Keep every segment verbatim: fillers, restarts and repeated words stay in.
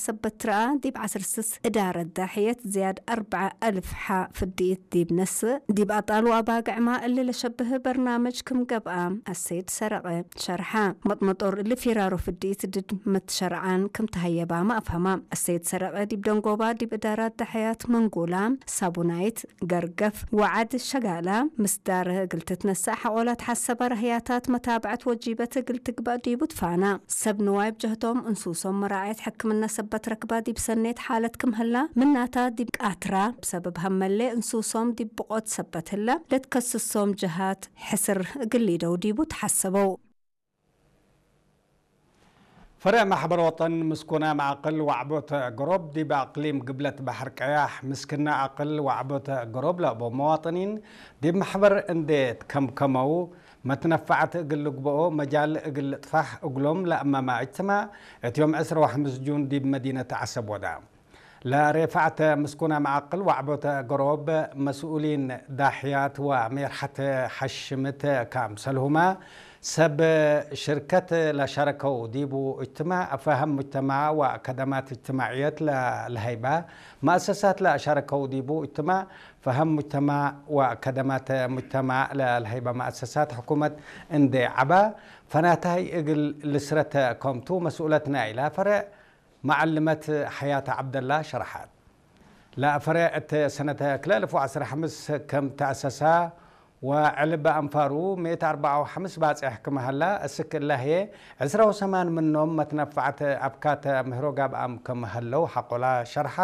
ሰበት ትረኣ፣ ዲብ ዐስር ስስ እዳረት ዳሕየት ዝያድ አርበዕ አልፍ ሐ ፍድኢት ዲብ ነስእ፣ ዲብ አጣል ወአባግዕማ እሊ ለሸብህ በርናምጅ ክም ገብአ አሰይድ ሰረቀ ሸርሐ። መጥመጦር እሊ ፊራሮ ፍድኢት ድድ መትሸርዓን ክም ተሀየባመ አፍሀማ። አሰይድ ሰረቀ ዲብ ደንጎባ ዲብ እዳራት ዳሕያት መንጎላ፣ ሳቡናይት፣ ገርገፍ ወዐድ ሸጋላ ምስዳር እግል ትትነሰእ ሐቆላት ሐሰበ ረህያታት መታብዐት ወጂበት እግል ትግበእ ዲቡ ትፋና። ሰብ ንዋይ ብጀህቶም እንሱሶም መራዐየት ሕክምነ ሰበት ረክባ ዲብ ሰኔት ሓለት ክም ህላ፣ ምናታ ዲብ ቃትራ ብሰበብ ሀመሌ እንሱሶም ዲብ ብቆት ሰበት ህላ ለትከስሶም ጀሃት ሕስር እግል ሊደው ዲቡ ተሐሰበው። ፈርዕ ማሕበር ወጠን ምስኩና መዓቅል ወዐቦት ገሮብ ዲብ አቅሊም ግብለት በሐር ቀያሕ ምስክና አቅል ወዐቦት ገሮብ ለአቦ መዋጥኒን ዲብ ማሕበር እንዴ ትከምከመው መትነፈዐት እግል ልግበኦ መጃል እግል ልጥፋሕ እግሎም ለአመመ እጅትማዕ እት ዮም ዕስራ ወሐምስ ጁን ዲብ መዲነት ዐሰብ ወዳ። ለሬፋዕት ምስኩና መዓቅል ወዐቦት ገሮብ መስኡሊን ዳሕያት ወሜርሐት ሐሽምት ካምሰልሁመ ሰብ ሽርከት ለሻረከው ዲቡ እጅትማዕ ፈሀም ሙጅተማዕ ወከደማት እጅትማዕየት ለሀይበ መአሰሳት ለሻረከው ዲቡ እጅትማዕ ፈሀም ሙጅተማዕ ወከደማት ሙጅተማዕ ለሀይበ መአሰሳት ሕኩመት እንዴ ዐበ ፈናታይ እግል ልስረት ከምቱ መስኡለት ናይላ ፈርዕ መዐልመት ሐያት ዐብደላ ሸርሐት። ለፈርዕ እት ሰነት ክልኤ አልፍ ወዐስር ወሐምስ ክም ተአሰሰ ወዕልብ አንፋሩ ምእት አርበዕ ወሐምስ ባጽሕ ክም ሀላ፣ እስክ እለ ህዬ ዕስራ ወሰማን ምኖም መትነፈዐት አብካት ምህሮ ጋብአም ክም ሀለው ሐቆላ ሸርሐ።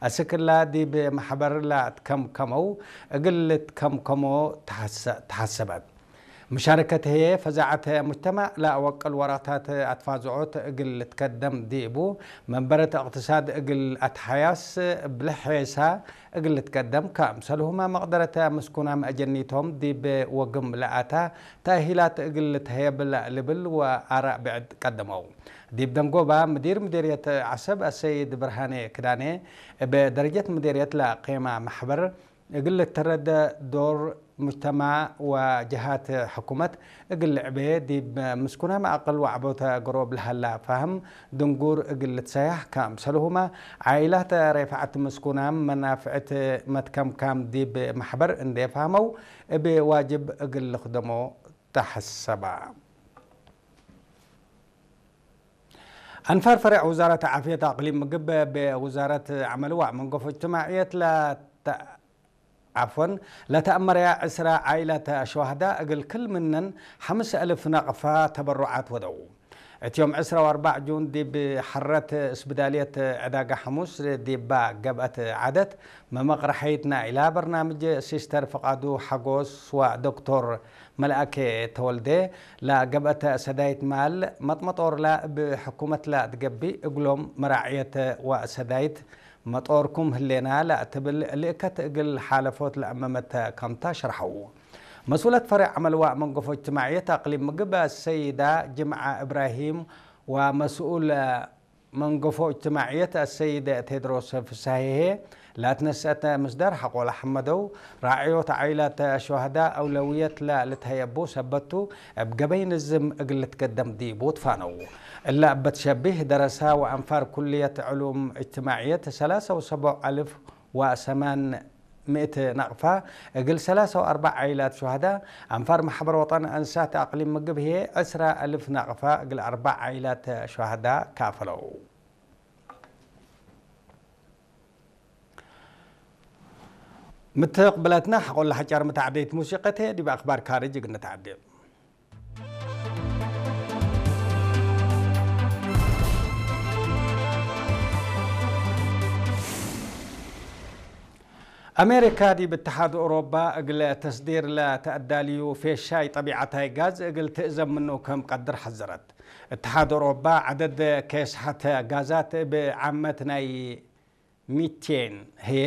እስክ እለ ዲብ መሕበር ለአትከምከመው እግል ልትከምከሞ ተሐሰ-፣ ተሐሰበት። ምሻረከት ህዬ ፈዛዐት ሙጅተማዕ ለአወቅል ወራታት አትፋዝዖት እግል ልትከደም ዲቡ፣ መንበረት እቅትሳድ እግል አትሐያስ እብ ለሔሳ እግል ልትከደም፣ ከምሰልሁመ መቅደረት ምስኩናም አጀኒቶም ዲብ ወግም ለአታ ተእሂላት እግል ልትሀየብ ለልብል ወአራእ ብዕድ ቀደመው። ዲብ ደንጎባ ምዲር ምዴርየት ዐሰብ አሰይድ ብርሃኔ ክዳኔ እብ ደረጀት ምዴርየት ለቄማ መሕበር እግል ልትረደ ዶር ሙጅተማዕ ወጀሃት ሕኩመት እግል ልዕቤ፣ ዲብ ምስኩናም አቅል ወዐቦተ ገሮብ ለሀላ ፋህም ድንጉር እግል ልትሰያሕ፣ ከምሰልሁመ ዓኢላት ሬፍዐት ምስኩናም መናፍዕት መትከምካም ዲብ መሕበር እንዴ ፋህመው እብ ዋጅብ እግል ልክደሞ ተሐሰበ። አንፋር ፈሬዕ ውዛረት ዓፍየት አቅሊም ምግብ እብ ውዛረት ዐመል ወመንገፎ እጅትማዕየት ለተ-፣ ዓፍወን፣ ለተአመረያ ዕስራ ዓኢላት ሸዋህዳ እግል ክል ምነን ሐምስ አልፍ ነቅፋ ተበሩዓት ወደው። እት ዮም ዕስራ ወአርበዕ ጁን ዲብ ሐረት እስብዳልየት ዕዳጋ ሐሙስ ዲባ ገብአት ዓደት መመቅረሐይት ናይላ በርናምጅ ሲስተር ፍቃዱ ሐጎስ ወዶክቶር መልአኬ ተወልዴ ለገብአተ ሰዳይት ማል መጥመጦርላ እብ ሕኩመትላ ትገብእ እግሎም መራዕየት ወሰዳይት መጦርኩም ህሌና ለአትብል ልእከት እግል ሓለፎት ለአመመተ ከምታ ሸርሐው። መስኡለት ፈሬዕ ዐመል ወመንገፎ እጅትማዕየት አቅሊም ምግብ አሰይዳ ጅምዓ እብራሂም ወመስኡል መንገፎ እጅትማዕየት አሰይድ ቴድሮስ ፍሳሄ ለአትነሰአት ምስዳር ሐቆለ ሐመደው፣ ራዕዮት ዓኢላት ሸዋህዳ አውለውየት ለልትሀየቡ ሰበት ቱ፣ እብ ገበይ ንዝም እግል ልትገደም ዲቡ ትፋነው። እለ እበ ትሸቢህ ደረሳ ወአንፋር ኩልየት ዕሉም እጅትማዕየት ሰላሳ ወሰቡዕ አልፍ ወሰማን ምእት ነቅፋ እግል ሰላሳ ወአርበዕ ዓኢላት ሸዋህዳ፣ አንፋር መሕበር ወጠን አንሳት አቅሊም ምግብ ህዬ ዕስራ አልፍ ነቅፋ እግል አርበዕ ዓኢላት ሸዋህዳ ካፈለው። ምትቅብለትነ ሐቆለ ሐጫር መተዓብዴት ሙሲቀት ህዬ ዲብ አክባር ካርጅ እግል ነተዓዴ። አሜሪካ ዲብ እትሓድ ኦሮባ እግል ተስዲር ለተአዳልዩ ፌሻይ ጠቢዐታይ ጋዝ እግል ትእዘም ምኑ ከም ቀድር ሐዘረት። እትሓድ ኦሮባ ዐደድ ኬስሐት ጋዛት እብ ዓመት ናይ ሚቴን ህዬ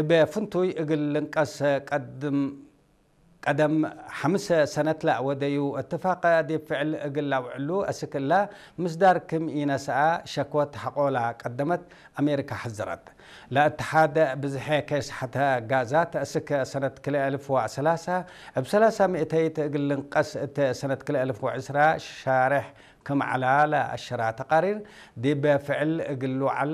እብ ፍንቱይ እግል ልንቀስ ቀድም ቀደም ሐምስ ሰነት ለአወደዩ እትፋቅ ዲብ ፍዕል እግል ለአውዕሉ አስክ እለ ምስዳር ክም ኢነስአ ሸክወት ሐቆላ ቀደመት አሜሪካ ሐዘረት። ለእትሓድ ብዝሐ ኬስሐተ ጋዛት አስክ ሰነት ክልኤ አልፍ ወሰላሳ እብ ሰላሳ ምእተይት እግል ልንቀስ እት ሰነት ክልኤ አልፍ ወዕስራ ሻሬሕ ክም ዐላ ለአሸራ ተቃሪር፣ ዲብ ፍዕል እግል ልውዓል